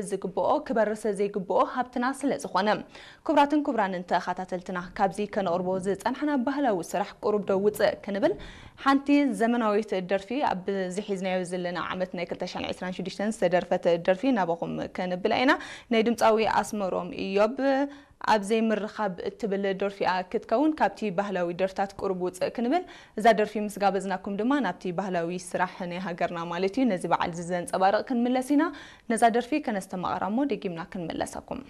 ዝግብኦ ክበርስ ዘይግብኦ ሃብትና ስለ ዝኾነ። ክቡራትን ክቡራንን ተኸታተልትና፣ ካብዚ ከነቕርቦ ዝጸናሕና ባህላዊ ስራሕ ቁሩብ ዶ ውጽእ ክንብል፣ ሓንቲ ዘመናዊት ደርፊ፣ ኣብዚ ሒዝናዮ ዘለና ዓመት ናይ ክልተ ሽሕን ዕስራን ሽዱሽተን ዝተደርፈት ደርፊ ናባኹም ከነብላ ኢና። ናይ ድምጻዊ ኣስመሮም ኢዮብ ኣብ ዘይምርኻብ እትብል ደርፊ እያ ክትከውን። ካብቲ ባህላዊ ደርፍታት ቁሩብ ውጽእ ክንብል፣ እዛ ደርፊ ምስ ጋበዝናኩም ድማ ናብቲ ባህላዊ ስራሕ ናይ ሃገርና ማለት እዩ፣ ነዚ በዓል እዚ ዘንጸባርቕ ክንምለስ ኢና። ነዛ ደርፊ ከነስተማቕራ እሞ ደጊምና ክንምለሰኩም።